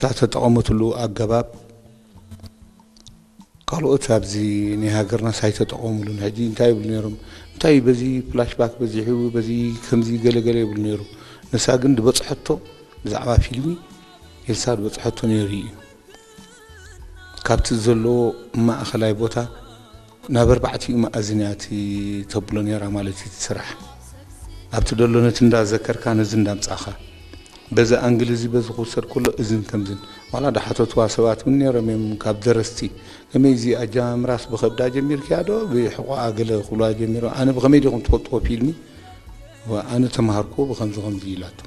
እታ ተጠቐመትሉ ኣገባብ ካልኦት ኣብዚ ናይ ሃገርናስ ኣይተጠቐሙሉን። ሕጂ እንታይ ይብሉ ነይሮም? እንታይ በዚ ፍላሽባክ በዚሑ፣ በዚ ከምዚ ገለገለ ይብሉ ነይሩ። ንሳ ግን ዝበጽሐቶ ብዛዕባ ፊልሚ ኤልሳ ዝበጽሐቶ ነይሩ እዩ። ካብቲ ዘለዎ ማእኸላይ ቦታ ናብ ኣርባዕቲኡ መኣዝን እያ እቲ ተብሎ ነይራ ማለት እዩ እቲ ስራሕ። ኣብቲ ደሎ ነቲ እንዳዘከርካ ነዚ እንዳምጻኻ በዚ ኣንግል እዚ በዚ ክውሰድ ከሎ እዝን ከምዝን ዋላ ዳሓተትዋ ሰባት እውን ነይሮም እዮም ካብ ደረስቲ ከመይ እዚ ኣጀማምራስ ብኸብዳ ጀሚርክያ ዶ ብሕቆኣ ገለ ክብልዋ ጀሚሮም ኣነ ብኸመይ ዲኹም ትፈልጥዎ ፊልሚ ኣነ ተምሃርኩዎ ብኸምዚ ኸምዚ ኢላቶ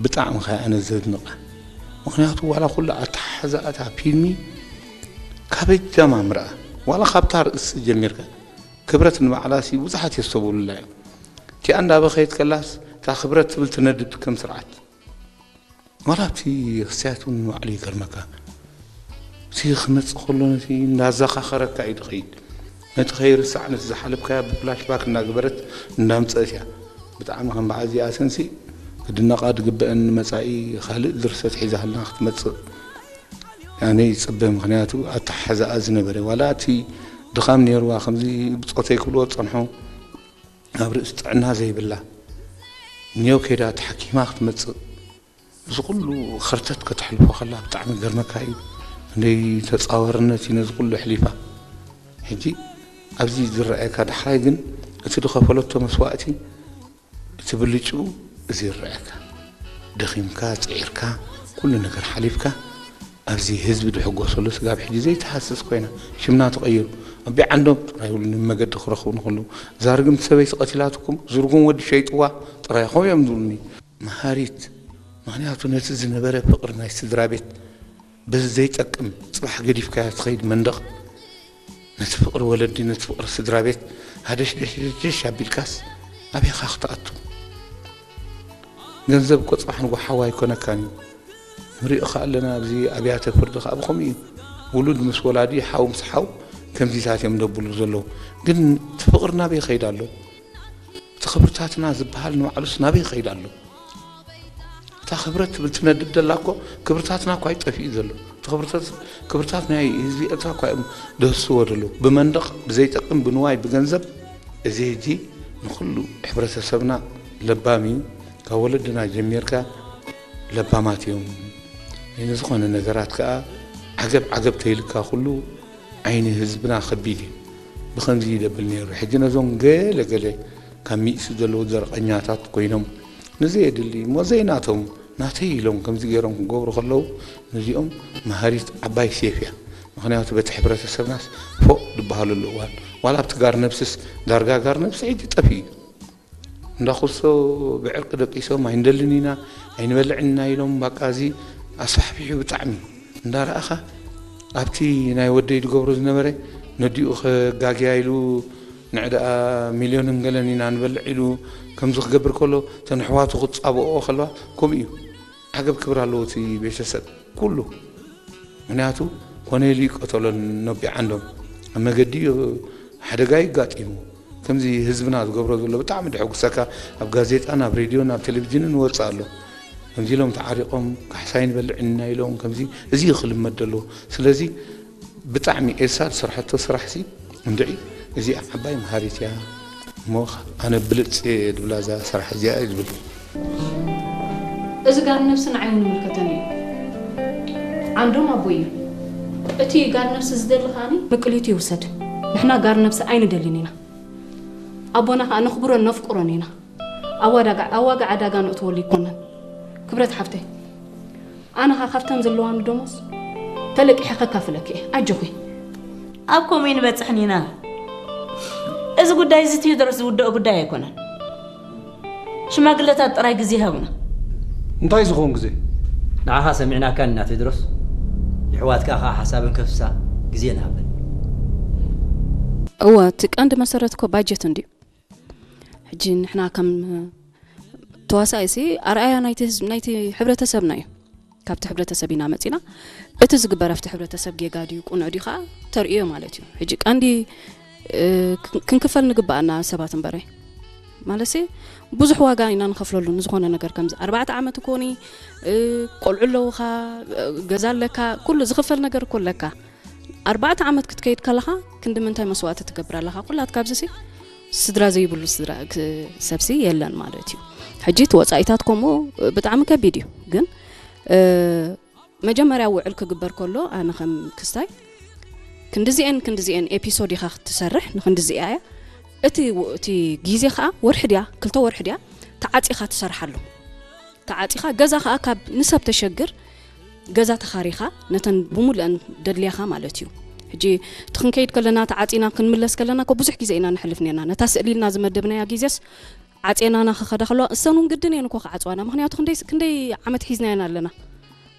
ብጣዕሚ ኸ ኣነ ዘድንቓ ምኽንያቱ ዋላ ኩሉ ኣተሓሕዛኣታ ፊልሚ ካበይ ጀማምርኣ ዋላ ካብታ ርእሲ ጀሚርካ ክብረት ንባዕላ ሲ ብዙሓት የስተብህሉላ እዮም እቲኣ እንዳበኸየት ከላስ እታ ክብረት ትብል ትነድድ ከም ስርዓት ዋላ ኣብቲ ክስያት እውን ንባዕሉ ይገርመካ እቲ ክመፅእ ከሎ ነቲ እንዳዘኻኸረካ እዩ ድኸይድ ነቲ ከይርሳዕ ነቲ ዝሓለፍካያ ብፍላሽባክ እንዳገበረት እንዳምፀእት እያ ብጣዕሚ ከም በዓል እዚኣተንሲ ክድነቓ ድግበአን ንመፃኢ ካልእ ድርሰት ሒዛልና ክትመፅእ ኣነ ይፅበ ምክንያቱ ኣተሓሕዛኣ ዝነበረ ዋላ እቲ ድኻም ነይርዋ ከምዚ ብፆተይ ክብልዎ ዝፀንሑ ኣብ ርእሲ ጥዕና ዘይብላ ኒዮ ከይዳ ተሓኪማ ክትመፅእ እዚ ኩሉ ኸርተት ከተሕልፎ ከላ ብጣዕሚ ገርመካ እዩ ክንደይ ተፃዋርነት እዩ ነዚ ኩሉ ኣሕሊፋ ሕጂ ኣብዚ ዝረኣየካ ዳሕራይ ግን እቲ ዝኸፈለቶ መስዋእቲ እቲ ብልጭኡ እዚ ይረኣየካ ደኺምካ ፅዒርካ ኩሉ ነገር ሓሊፍካ ኣብዚ ህዝቢ ዝሕጎሰሉ ስጋብ ሕጂ ዘይትሃስስ ኮይና ሽምና ተቐይሩ ኣቢ ዓንዶም ጥራይ ይብሉኒ መገዲ ክረኽቡ ንክሉ እዛ ርግምቲ ሰበይቲ ቀቲላትኩም ዝርጉም ወዲ ሸይጥዋ ጥራይ ከምኡ እዮም ዝብሉኒ መሃሪት ምኽንያቱ ነቲ ዝነበረ ፍቕሪ ናይ ስድራ ቤት በዚ ዘይጠቅም ጽባሕ ገዲፍካያ ትኸይድ መንደቕ ነቲ ፍቕሪ ወለዲ ነቲ ፍቕሪ ስድራ ቤት ሃደሽደሽደሽ ኣቢልካስ ኣበይኻ ክትኣቱ ገንዘብ እኮ ጽባሕ ንጎ ሓው ኣይኮነካን እዩ ንሪኦ ከኣ ኣለና ኣብዚ ኣብያተ ፍርዲ ከኣ ብኸምኡ እዩ ውሉድ ምስ ወላዲ ሓው ምስ ሓው ከምዚታት እዮም ደብሉ ዘለዉ ግን እቲ ፍቕሪ ናበይ ይኸይድ ኣሎ እቲ ክብርታትና ዝበሃል ንባዕሉስ ናበይ ይኸይድ ኣሎ እታ ክብረት ትብል ትነድድ ደላ እኮ ክብርታትና እኳ ይጠፊኡ ዘሎ ክብርታት ናይ ህዝቢ ኤርትራ እኳ እዮም ደህስዎ ደለዉ ብመንደቕ ብዘይጠቅም ብንዋይ ብገንዘብ እዚ ህጂ ንኩሉ ሕብረተሰብና ለባም እዩ ካብ ወለድና ጀሚርካ ለባማት እዮም ንዝኾነ ነገራት ከዓ ዓገብ ዓገብ ተይልካ ኩሉ ዓይኒ ህዝብና ከቢድ እዩ ብኸምዚ ይደብል ነይሩ ሕጂ ነዞም ገለ ገለ ካብ ሚእሲ ዘለዉ ዘርቐኛታት ኮይኖም ንዘየድሊ እሞ ዘይናቶም ናተይ ኢሎም ከምዚ ገይሮም ክገብሩ ከለዉ ነዚኦም መሃሪት ዓባይ ሴፍ እያ ምኽንያቱ በቲ ሕብረተሰብናስ ፎቕ ዝበሃለሉ እዋን ዋላ ኣብቲ ጋር ነብስስ ዳርጋ ጋር ነብሲ ሕጂ ጠፊኡ እዩ እንዳኹሶ ብዕርቂ ደቂሶም ኣይንደልን ኢና ኣይንበልዕን ኢና ኢሎም ባቃ እዚ ኣስፋሕፊሑ ብጣዕሚ እንዳረኣኻ ኣብቲ ናይ ወደይ ዝገብሮ ዝነበረ ነዲኡ ከጋግያ ኢሉ ንዕዳኣ ሚልዮንን ገለን ኢና ንበልዕ ኢሉ ከምዚ ክገብር ከሎ ተን ኣሕዋቱ ክጻብኦ ከለዋ ከምኡ እዩ ዓገብ ክብር ኣለዎ እቲ ቤተሰብ ኩሉ ምክንያቱ ኮነ ኢሉ ይቀተሎ ነቢ ዓንዶም ኣብ መገዲ ሓደጋ ይጋጢሙ ከምዚ ህዝብና ዝገብሮ ዘሎ ብጣዕሚ ደሐጉሰካ ኣብ ጋዜጣን ኣብ ሬድዮን ኣብ ቴሌቪዥንን ይወፅእ ኣሎ ከምዚ ኢሎም ተዓሪቆም ካሕሳይ ንበልዕ ኢና ኢሎም ከምዚ እዚ ክልመድ ዘለዎ ስለዚ ብጣዕሚ ኤልሳ ዝሰርሐቶ ስራሕ ሲ እንድዒ እዚኣ ዓባይ መሃሪት እያ እሞ ኣነ ብልፅ እየ ዝብላ እዛ ስራሕ እዚኣ እየ ዝብል እዚ ጋር ነብሲ ንዓይ እውን ይምልከተኒ እዩ ዓንዶም ኣቦይ እዩ እቲ ጋር ነብሲ ዝደሊ ከዓኒ ንቅሊቱ ይውሰድ ንሕና ጋር ነብሲ ኣይንደልን ኢና ኣቦና ከዓ ነኽብሮን ነፍቅሮን ኢና ኣዋዳጋ ኣዋጋ ዕዳጋ ነእትወሉ ይኮነን ክብረት ሓፍተይ ኣነ ኸዓ ካብተን ዘለዋኒ ደሞዝ ተለቂሐ ከካፍለኪ እየ ኣጆኺ ኣብ ከምኡ ኣይንበፅሕን ኢና እዚ ጉዳይ እዚ ቴዎድሮስ ዝውደኦ ጉዳይ ኣይኮነን ሽማግለታት ጥራይ ግዜ ይሃቡና እንታይ ዝኸውን ግዜ ንዓኻ ሰሚዕናካን ኢና ቴድሮስ ንሕዋትካ ኸዓ ሓሳበን ከፍስሳ ግዜ ንሃበን እወ እቲ ቀንዲ መሰረት እኮ ባጀት እንድዩ ሕጂ ንሕና ከም ተዋሳኢ ሲ ኣርኣያ ናይቲ ህዝብ ናይቲ ሕብረተሰብና እዩ ካብቲ ሕብረተሰብ ኢና መፂና እቲ ዝግበር ኣብቲ ሕብረተሰብ ጌጋ ድዩ ቁኑዕ ድዩ ከዓ ተርእዮ ማለት እዩ ሕጂ ቀንዲ ክንክፈል ንግበኣና ሰባት እምበረ ማለትሲ ብዙሕ ዋጋ ኢና ንኸፍለሉ ንዝኾነ ነገር። ከምዚ ኣርባዕተ ዓመት እኮኒ፣ እ፣ ቆልዑ ኣለውኻ፣ እ፣ ገዛ ኣለካ፣ ኩሉ ዝኽፈል ነገር እኮ ኣለካ። ኣርባዕተ ዓመት ክትከይድ ከለኻ ክንዲ ምንታይ መስዋእቲ ትገብር ኣለኻ? ኩላት ካብዚ ሲ ስድራ ዘይብሉ ስድራ ክ-፣ ሰብሲ የለን ማለት እዩ። ሕጂ እቲ ወጻኢታት ከምኡ ብጣዕሚ ከቢድ እዩ። ግን፣ እ፣ መጀመርያ ውዕል ክግበር ከሎ ኣነ ከም ክስታይ ክንድዚኤን ክንድዚኤን ኤፒሶድ ኢኻ ክትሰርሕ ንክንድዚኣ እያ። እቲ ው-፣ እቲ ግዜ ኸኣ ወርሒ ድያ ክልተ ወርሒ ድያ ተዓጺኻ ትሰርሓሉ። ተዓጺኻ ገዛ ኸኣ ካብ ንሰብ ተሸግር ገዛ ተኻሪኻ ነተን ብሙሉአን ደድልያኻ ማለት እዩ። ሕጂ እቲ ክንከይድ ከለና ተዓጺና ክንምለስ ከለና እኮ ብዙሕ ግዜ ኢና ነሕልፍ ኔርና። ነታ ስእሊ ኢልና ዝመደብናያ ግዜስ ዓጼናና ክኸዳ ከለዋ እሰን እውን ግድን እየን እኮ ክዓጽዋና። ምኽንያቱ ክንደይ፣ ክንደይ ዓመት ሒዝናየን ኣለና።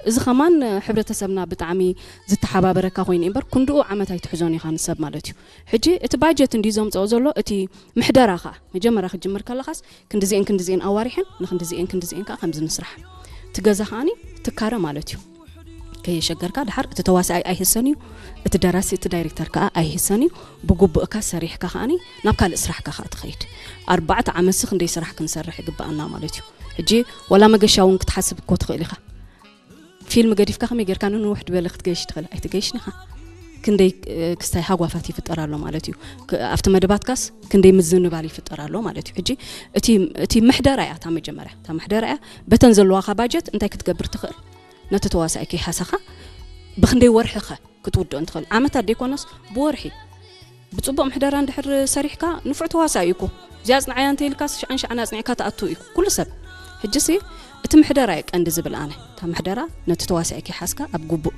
እዚ ኸማን ሕብረተሰብና ብጣዕሚ ዝተሓባበረካ ኮይኑ እምበር ክንድኡ ዓመት ኣይትሕዞን ኢኻ ንሰብ ማለት እዩ። ሕጂ እቲ ባጀት እንዲ ዘምጽኦ ዘሎ እቲ ምሕደራ ኸኣ መጀመርያ ክትጅምር ከለኻስ ክንድዚኤን ክንድዚኤን ኣዋሪሐን ንክንድዚኤን ክንድዚኤን ከኣ ከምዚ ንስራሕ። እቲ ገዛ ከኣኒ ትካረ ማለት እዩ። ከየሸገርካ ድሓር እቲ ተዋሳኣይ ኣይህሰን እዩ፣ እቲ ደራሲ እቲ ዳይሬክተር ከኣ ኣይህሰን እዩ። ብግቡእካ ሰሪሕካ ከኣኒ ናብ ካልእ ስራሕካ ከኣ ትኸይድ። ኣርባዕተ ዓመትሲ ክንደይ ስራሕ ክንሰርሕ ይግበኣና ማለት እዩ። ሕጂ ዋላ መገሻ እውን ክትሓስብ እኮ ትኽእል ኢኻ። ፊልም ገዲፍካ ከመይ ጌርካ ንንውሕ ዝበለ ክትገይሽ ትኽእል? ኣይትገይሽን ኢኻ። ክንደይ፣ እ፣ ክስታይ ሃጓፋት ይፍጠር ኣሎ ማለት እዩ። ክ-፣ ኣብቲ መደባትካስ ክንደይ ምዝንባል ይፍጠር ኣሎ ማለት እዩ። ሕጂ እቲ፣ እቲ ምሕደራ እያ እታ መጀመርያ። እታ ምሕደራ እያ። በተን ዘለዋኻ ባጀት እንታይ ክትገብር ትኽእል? ነቲ ተዋሳኣይ ከይሓሰኻ ብኽንደይ ወርሒ ኸ ክትውድኦ እንትኽእል? ዓመታት ደይኮነስ ብወርሒ። ብጽቡቕ ምሕደራ እንድሕር ሰሪሕካ ንፉዕ ተዋሳኢ እዩ እኮ። እዚኣ ኣጽንዓያ እንተ ኢልካስ ሽዓን ሽዓን ኣጽኒዕካ ትኣቱ እዩ ኩሉ ሰብ። ሕጂሲ እቲ ምሕደራ እዩ ቀንዲ ዝብል ኣነ። እታ ምሕደራ ነቲ ተዋሳኢ ከይሓዝካ ኣብ ግቡእ፣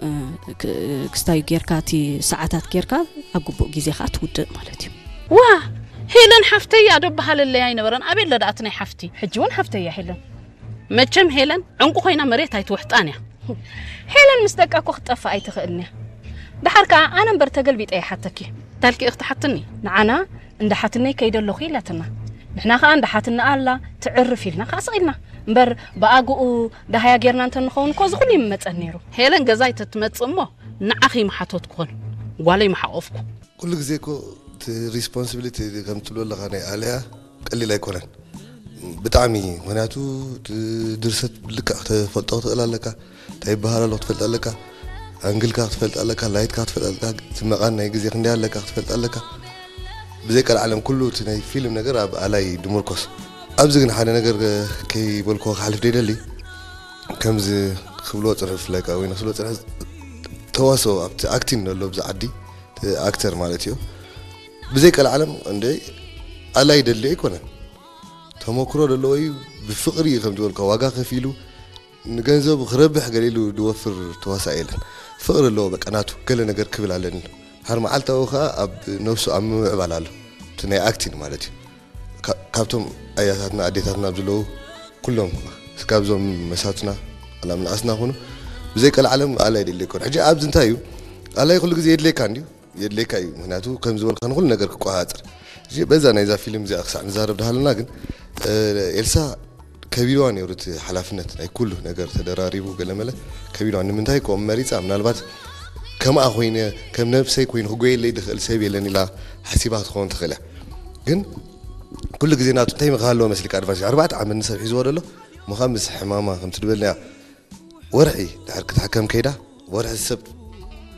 እ፣ ክ-፣ ክስታይ ጌርካ እቲ ሰዓታት ጌርካ ኣብ ግቡእ ግዜ ከኣ ትውድእ ማለት እዩ። ዋ፣ ሄለን ሓፍተይ እያ ዶ በሃለለይ ኣይነበረን? ኣበይ ኣለ ደኣ እቲ ናይ ሓፍቲ? ሕጂ እውን ሓፍተይ እያ ሄለን። መቸም ሄለን ዕንቁ ኮይና መሬት ኣይትውሕጣን እያ። ሄለን ምስ ደቃ እኮ ክትጠፍእ ኣይትኽእልን እያ። ደሓር ከኣ ኣነ እምበር ተገልቢጠ ይሓተኪ። ታልኪ ክትሓትኒ? ንዓና እንዳ ሓትነይ ከይደ ኣለኹ ኢላትና። ንሕና ከኣ እንዳ ሓትና ኣላ ትዕርፍ ኢልና ከኣ ስቕ ኢልና። እምበር ብኣግኡ ደሃያ ጌርና እንተ ንኸውን እኮ እዚ ኩሉ ይመጸን ነይሩ። ሄለን ገዛይ ተትመጽእ እሞ ንዓኺ ምሓተትኩኽን ጓለይ ምሓቆፍኩ። ኩሉ ግዜ እኮ እቲ ሪስፖንሲቢሊቲ ከም ትብሎ ኣለኻ ናይ ኣልያ ቀሊል ኣይኮነን ብጣዕሚ። ምኽንያቱ እቲ ድርሰት ብልክዕ ክትፈልጦ ክትኽእል ኣለካ፣ እንታይ ይበሃል ኣሎ ክትፈልጥ ኣለካ፣ ኣንግልካ ክትፈልጥ ኣለካ፣ ላይትካ ክትፈልጥ ኣለካ፣ እቲ መቓን ናይ ግዜ ክንደይ ኣለካ ክትፈልጥ ኣለካ። ብዘይ ቀልዓለም ኩሉ እቲ ናይ ፊልም ነገር ኣብ ኣላይ ድምርኮስ። ኣብዚ ግን ሓደ ነገር ከይበልክዎ ክሓልፍ ደይደሊ፣ ከምዚ ክብልዎ ጽንሑ ብፍላይ ከኣ ወይ ክብልዎ ጽንሑ ተዋስኦ ኣብቲ ኣክቲንግ ዘሎ ኣብዚ ዓዲ፣ እቲ ኣክተር ማለት እዩ። ብዘይ ቀልዓለም እንደ ኣላይ ደልዮ ኣይኮነን። ተመክሮ ዘለዎ እዩ። ብፍቕሪ እዩ ከም ዝበልካ ዋጋ ከፊሉ ንገንዘቡ ክረብሕ ገለ ኢሉ ዝወፍር ተዋሳኢ የለን። ፍቕሪ ኣለዎ በቃ ናቱ ገለ ነገር ክብል ኣለኒ ኢሉ። ድሓር መዓልታዊ ከኣ ኣብ ነብሱ ኣብ ምምዕባል ኣሎ። እቲ ናይ ኣክቲንግ ማለት እዩ። ካ-፣ ካብቶም ኣያታትና ኣዴታትና ኣብ ዘለዉ ኩሎም ስጋብ እዞም መሳትና ኣላ ምንኣስና ኩኑ ብዘይ ቀልዓለም ኣላይ ደልዮ ኣይኮን። ሕጂ ኣብዚ እንታይ እዩ ኣላይ ኩሉ ግዜ የድልየካ እንድዩ የድልየካ እዩ። ምኽንያቱ ከም ዝበልካ ንኹሉ ነገር ክቆጻጸር። እዚ በዛ ናይዛ ፊልም እዚኣ ክሳዕ ንዛረብ ድሃለና ግን፣ እ፣ ኤልሳ ከቢድዋ ነይሩ እቲ ሓላፍነት ናይ ኩሉ ነገር ተደራሪቡ ገለመለ ከቢድዋ። ንምንታይ ከምኡ መሪጻ? ምናልባት ከምኣ ኮይነ ከም ነብሰይ ኮይኑ ክጎየለይ ድኽእል ሰብ የለን ኢላ ሓሲባ ክትኸውን ትኽእል እያ። ግን ኩሉ ግዜ ናቱ እንታይ ምኽሃለዎ መስልካ ኣድቫንስ ኣርባዕተ ዓመት ንሰብ ሒዝዎ ደሎ ምዃን ምስ ሕማማ ከም ትድበልና እያ። ወርሒ ድሕር ክትሕከም ከይዳ ወርሒ ሰብ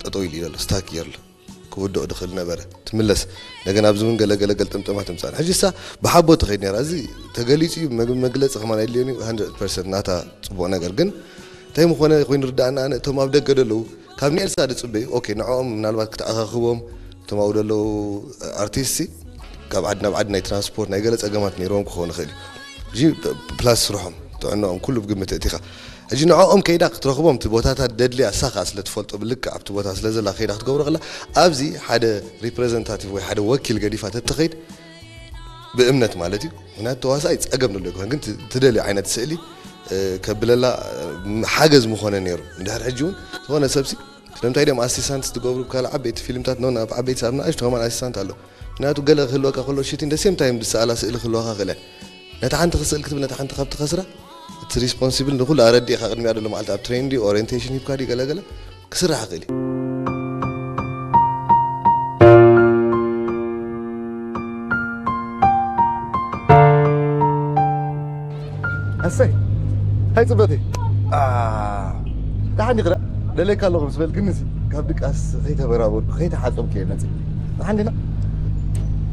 ጠጠው ኢሉ እዩ ዘሎ፣ ስታክ እዩ ዘሎ። ክውድኦ ድኽእል ነበረ። ትምለስ። እንደገና ኣብዚ እውን ገለ ገለ ገልጥምጥማት ትምጻእ። ሕጂ እሳ ብሓቦ ትኸይድ ነይራ። እዚ ተገሊጹ እዩ፣ መግ-፣ መግለጺ ከማን ኣየድልዮን እዩ፣ ሃንድረድ ፐርሰንት ናታ ጽቡቕ ነገር። ግን እንታይ ምኾነ ኮይኑ ርዳእና፣ ኣነ እቶም ኣብ ደገ ደለዉ ካብ ንኤልሳ ድጽበዩ፣ ኦኬ፣ ንዕኦም ምናልባት ክትኣኻኽቦም፣ እቶም ኣብኡ ደለዉ ኣርቲስትሲ ካብ ዓዲ ናብ ዓዲ ናይ ትራንስፖርት ናይ ገለ ጸገማት ነይርዎም ክኸውን ይኽእል እዩ። ሕጂ ፕላስ ስርሖም፣ ጥዕናኦም፣ ኩሉ ብግምት እቲኻ። ሕጂ ንዕኦም ከይዳ ክትረኽቦም፣ እቲ ቦታታት ደድልያ፣ እሳ ኸኣ ስለ ትፈልጦ፣ ብልክዕ ኣብቲ ቦታ ስለ ዘላ ከይዳ ክትገብሮ ከላ፣ ኣብዚ ሓደ ሪፕረዘንታቲቭ ወይ ሓደ ወኪል ገዲፋ ተትኸይድ፣ ብእምነት ማለት እዩ። ምኽንያቱ ተዋሳኣይ ጸገም ደሎ ኣይኮነን፣ ግን ት-፣ ትደልዮ ዓይነት ስእሊ፣ እ፣ ከብለላ፣ እ፣ ሓገዝ ምኾነ ነይሩ። እንድሕር ሕጂ እውን ዝኾነ ሰብሲ፣ ስለምንታይ ድዮም ኣሲስታንትስ ትገብሩ ብካልእ ዓበይቲ ፊልምታት? ኖ፣ ኣብ ዓበይቲ ኣብ ንኣሽቱ ከማን ኣሲስታንት ኣሎ። ምኽንያቱ ገለ ክህልወካ ከሎ፣ ሹቲንግ፣ the same time ዝሰኣላ ስእሊ ክህልወካ ክእል እያ። ነታ ሓንቲ ክስእል ክትብል፣ ነታ ሓንቲ ካብ ትኸስራ፣ እቲ ሪስፖንሲብል ንኹሉ ኣረዲእኻ ቅድሚያ ደሎ መዓልቲ ኣብ ትሬን ድዩ፣ ኦሪየንቴሽን ሂብካ ድዩ፣ ገለ ገለ ክስራሕ ይኽእል እዩ። ኣሰይ፣ ሃይ ጽበተይ። ኣ፣ ደሓን ዲኺ? ደለካ ኣለኹ ምስ በልክኒ፣ እዚ ካብ ድቃስ ከይተበራበርኩ፣ ከይተሓጸብኩ እየ መጺእ። ደሓን ዲና?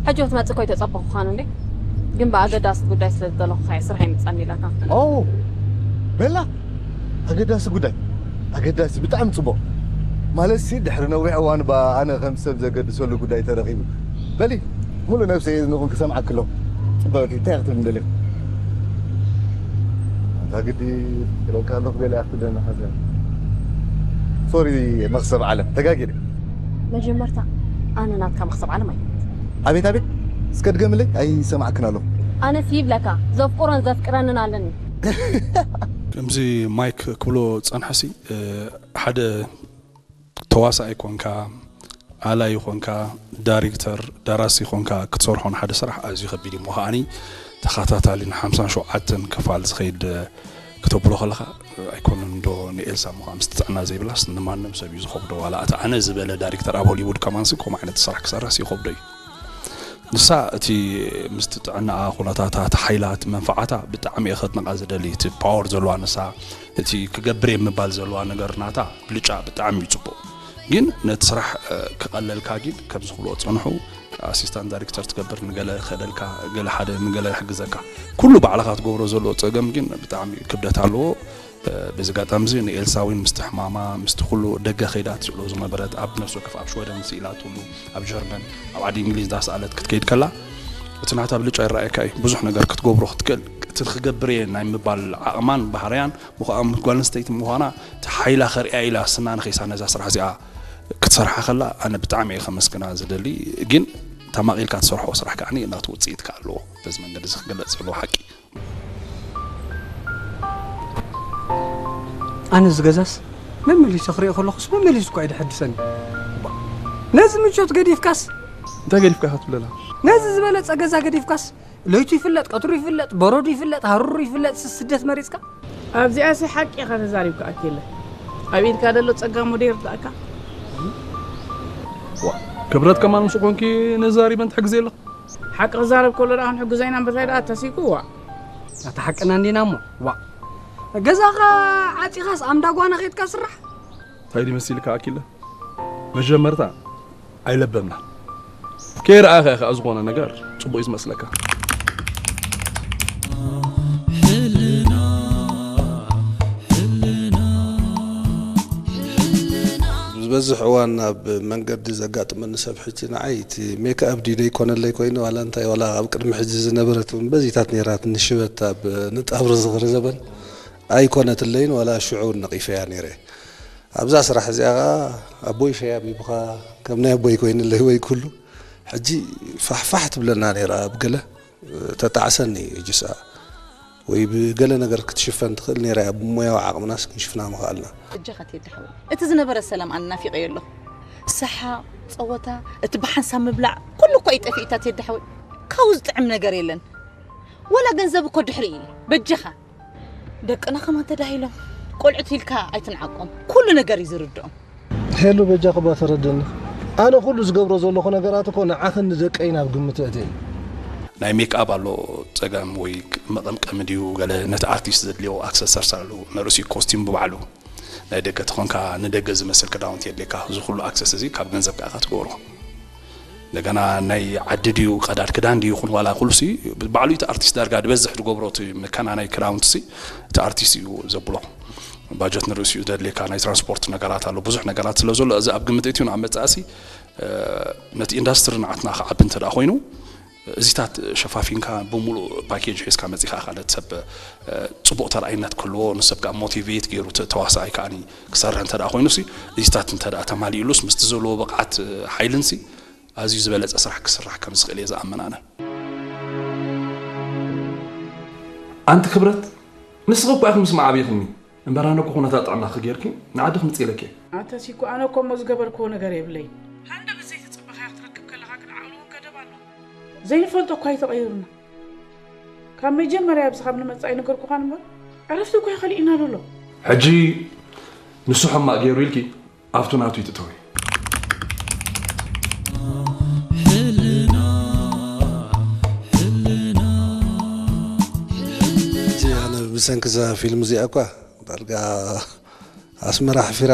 ሕጂ ክትመጽእ እኮ ኣይተጸበኹኻን እንዴ? ግን ብኣገዳሲ ጉዳይ ስለ ዝደለኹኻ እየ ስራሕ ይምጻኒ ኢለካ። ኦ፣ በላ፣ ኣገዳሲ ጉዳይ። ኣገዳሲ፣ ብጣዕሚ ጽቡቕ። ማለትሲ፣ ድሕሪ ነዊሕ እዋን፣ ባ፣ ኣነ ከም ሰብ ዘገድሰሉ ጉዳይ ተረኺቡ። በሊ፣ ሙሉእ ነብሰይ እየ ንኹን ክሰምዓኪ ኣለኹ። ጽብቕቲ፣ እንታይ ክትብሊ ደሊኹ? ኣንታ ግዲ ክለካ ኣለኹ፣ ገለ ኣክትደና ሓዘን። ሶሪ፣ መኽሰብ ዓለም፣ ተጋጊረ። መጀመርታ፣ ኣነ ናትካ መኽሰብ ዓለም ኣይኮንኩ። ኣቤት፣ ኣቤት፣ እስከ ድገምለይ፣ ኣይሰማዕክን ኣለኹ። ኣነስ ይብለካ፣ ዘፍቁሮን ዘፍቅረንን ኣለኒ። ከምዚ ማይክ ክብሎ ጸንሐሲ፣ እ፣ ሓደ ተዋሳኣይ ኮንካ፣ ኣላይ ኮንካ፣ ዳይሬክተር፣ ደራሲ ኮንካ ክትሰርሖ ንሓደ ስራሕ ኣዝዩ ከቢድ እዩ። እሞ ከዓኒ ተኸታታሊ ንሓምሳን ሸውዓተን ክፋል ዝኸይድ ክተብሎ ከለኻ ኣይኮነን ዶ ንኤልሳ እሞ ከኣ ምስቲ ጥዕና ዘይብላስ ንማንም ሰብ እዩ ዝኸብዶ። ዋላ እቲ ኣነ ዝበለ ዳይሬክተር ኣብ ሆሊውድ ከማንሲ ከምኡ ዓይነት ስራሕ ክሰርሕስ ይኸብዶ እዩ። ንሳ እቲ ምስቲ ጥዕናኣ፣ ኩነታታ፣ እቲ ሓይላ፣ እቲ መንፈዓታ ብጣዕሚ እየ ከድንቓ ዝደሊ። እቲ ፓወር ዘለዋ ንሳ፣ እቲ ክገብር እየ ምባል ዘለዋ ነገር ናታ ብልጫ ብጣዕሚ እዩ ጽቡቕ። ግን ነቲ ስራሕ፣ እ፣ ክቐለልካ ግን ከምዚ ክብልዎ ዝጸንሑ፣ ኣሲስታንት ዳይሬክተር ትገብር፣ ንገለ ክኸደልካ፣ ገለ ሓደ ንገለ ይሕግዘካ። ኩሉ ባዕልኻ ትገብሮ ዘሎ ጸገም ግን ብጣዕሚ ክብደት ኣለዎ። እ፣ በዚ ኣጋጣሚ እዚ ንኤልሳ እውን ምስቲ ሕማማ፣ ምስቲ ኩሉ ደገ ከይዳ ትስእሎ ዝነበረት፣ ኣብ ነፍሲ ወከፍ ኣብ ሽወደን ስኢላትሉ፣ ኣብ ጀርመን፣ ኣብ ዓዲ እንግሊዝ ዳስኣለት ክትከይድ ከላ፣ እቲ ናታ ብልጫ ይረኣየካ እዩ። ብዙሕ ነገር ክትገብሮ ክትክእል፣ እቲ ክገብር እየ ናይ ምባል ዓቕማን ባህርያን፣ ምዃ-፣ ጓል ኣንስተይቲ ምዃና፣ እቲ ሓይላ ከርእያ ኢላ ስና ንኸይሳ ነዛ ስራሕ እዚኣ ክትሰርሓ ከላ፣ ኣነ ብጣዕሚ እየ ከመስግና ዝደሊ። ግን ተማቒልካ ትሰርሖ ስራሕ ከዓኒ ናቱ ውፅኢት ከኣ ኣለዎ። በዚ መንገዲ እዚ ክግለጽ ዘለዎ ሓቂ። ኣነ እዚ ገዛስ መመሊሰ ክሪኦ ከለኹስ መመሊሱ እኳ እዩ ደሐድሰኒ። ባ፣ ነዚ ምቾት ገዲፍካስ እንታይ ገዲፍካ ኢኻ ትብለላ? ነዚ ዝበለጸ ገዛ ገዲፍካስ ለይቱ ይፍለጥ፣ ቀትሩ ይፍለጥ፣ በረዱ ይፍለጥ፣ ሃሩሩ ይፍለጥ፣ ስ-፣ ስደት መሪጽካ? ኣብዚኣሲ ሓቂ ኢኻ ተዛሪብካ ኣኪለ። ኣብ ኢድካ ዘሎ ጸጋ እሞ ደይርዳእካ? ዋ፣ ክብረት ከማን ምስ ኮንኪ ነዛሪበን ትሕግዜ ኣለኹ። ሓቂ ክዛረብ ከሎ ደኣ ክንሕግዞ ኢና እምበር እንታይ ደኣ ተሲኩ፣ ዋ። ኣታ ሓቅና እንዲና እሞ፣ ዋ። ገዛኻ ዓጺኻስ ኣምዳ ጓና ኸይድካ ስራሕ? እንታይ ድዩ መሲልካ ኣኪለ? መጀመርታ ኣይለበምናን። ከይረኣኻ ኢኻ ዝኾነ ነገር ጽቡቕ እዩ ዝመስለካ። ዝበዝሕ እዋን ኣብ መንገዲ ዘጋጥመኒ ሰብ ሕጂ ንዓይ እቲ ሜክኣፕ ድዩ ደይኮነለይ ኮይኑ ዋላ እንታይ ዋላ ኣብ ቅድሚ ሕጂ ዝነበረት እውን በዚታት ነይራ ትንሽ ሽበት ኣብ ንጣብሪ ዝኽሪ ዘበን ኣይኮነትለይን ዋላ ሽዑ እውን ነቒፈያ ነይረ። ኣብዛ ስራሕ እዚኣ ኸዓ ኣቦይ ሸያብ ይብኻ ከም ናይ ኣቦይ ኮይንለይ ወይ ኩሉ ሕጂ ፋሕፋሕ ትብለና ነይራ ኣብ ገለ ተጣዕሰኒ እዩ ጅስኣ ወይ ብገለ ነገር ክትሽፈን ትኽእል ነይራ እያ ብሞያዊ ዓቕምናስ ክንሽፍና ምኽኣልና። እጃኻ ቴዲ ሓወይ፣ እቲ ዝነበረ ሰላም ኣነ ናፊቐዮ ኣለኹ። ሰሓቕ፣ ጸወታ፣ እቲ ብሓንሳብ ምብላዕ፣ ኩሉ እኮ እዩ ጠፊእታ ቴዲ ሓወይ። ካብኡ ዝጥዕም ነገር የለን። ወላ ገንዘብ እኮ ድሕሪ እዩ። በጃኻ። ደቅና ከማን ተዳሂሎም። ቆልዑት ኢልካ ኣይትንዓቆም። ኩሉ ነገር እዩ ዝርድኦም። ሄሉ በጃኺ እባ ፈረደኒ። ኣነ ኩሉ ዝገብሮ ዘለኹ ነገራት እኮ ንዓኽን ንደቀይን ኣብ ግምት እየ። ናይ ሜክኣፕ ኣሎ ጸገም ወይ መቐምቀሚ ድዩ ገለ ነቲ ኣርቲስት ዘድልዮ ኣክሰሰርስ ኣሎ ንርእሲ ኮስቲም ብባዕሉ ናይ ደገ ተኾንካ ንደገ ዝመስል ክዳውንቲ የድልየካ እዚ ኩሉ ኣክሰስ እዚ ካብ ገንዘብ ከኣ ትገብሮ እንደገና ናይ ዓዲ ድዩ ቀዳድ ክዳን ድዩ ይኹን ዋላ ኩሉሲ ባዕሉ እቲ ኣርቲስት ዳርጋ ዝበዝሕ ዝገብሮ እቲ መከና ናይ ክዳውንትሲ እቲ ኣርቲስት እዩ ዘብሎ ባጀት ንርእሲኡ ዘድልየካ ናይ ትራንስፖርት ነገራት ኣሎ ብዙሕ ነገራት ስለ ዘሎ እዚ ኣብ ግምት እትዩ ንኣብ መጻእሲ ነቲ ኢንዳስትሪ ንዓትና ክዓቢ እንተ ደኣ ኮይኑ እዚታት ሸፋፊንካ ብምሉእ ፓኬጅ ሒዝካ መጺኻ ኢኻ ነቲ ሰብ ጽቡቕ ተረኣይነት ክህልዎ ንሰብ ከዓ ሞቲቬት ገይሩ ተዋሳኣይ ከዓኒ ክሰርሕ እንተ ደኣ ኮይኑሲ እዚታት እንተ ደኣ ተማሊእሉስ ምስቲ ዘለዎ ብቕዓት ሓይልንሲ ኣዝዩ ዝበለጸ ስራሕ ክስራሕ ከም ዝኽእል እየ ዝኣምን ኣነ። ኣንቲ ክብረት ንስኺ እኮ ኢኺ ምስ መዓብይኽኒ እምበር ኣነ እኮ ኩነታት ጥዕናኺ ጌርኪ ንዓዲ ክምጽእ ኢለኪ እየ። ኣንተሲ እኮ ኣነ እኮ እሞ ዝገበርክዎ ነገር የብለይ። ሃንደበት ዘይተጸበኻዮ ክትረክብ ከለኻ ግን ዓቕሊ እውን ገደብ ኣለዎ። ዘይንፈልጦ እኳ እዩ ተቐይሩና። ካብ መጀመርያ ኣብዚ ካብ ንመጽእ ኣይነገርኩኻን እምበር ዕረፍቲ እኮ እዩ ከሊእና ዘሎ። ሕጂ ንሱ ሕማቕ ገይሩ ኢልኪ ኣብቱ ናቱ ይትእተዊ። ሕጂ ኣነ ሰንኪ እዛ ፊልም እዚኣ እኳ ዳርጋ ኣስመራ ሓፊራ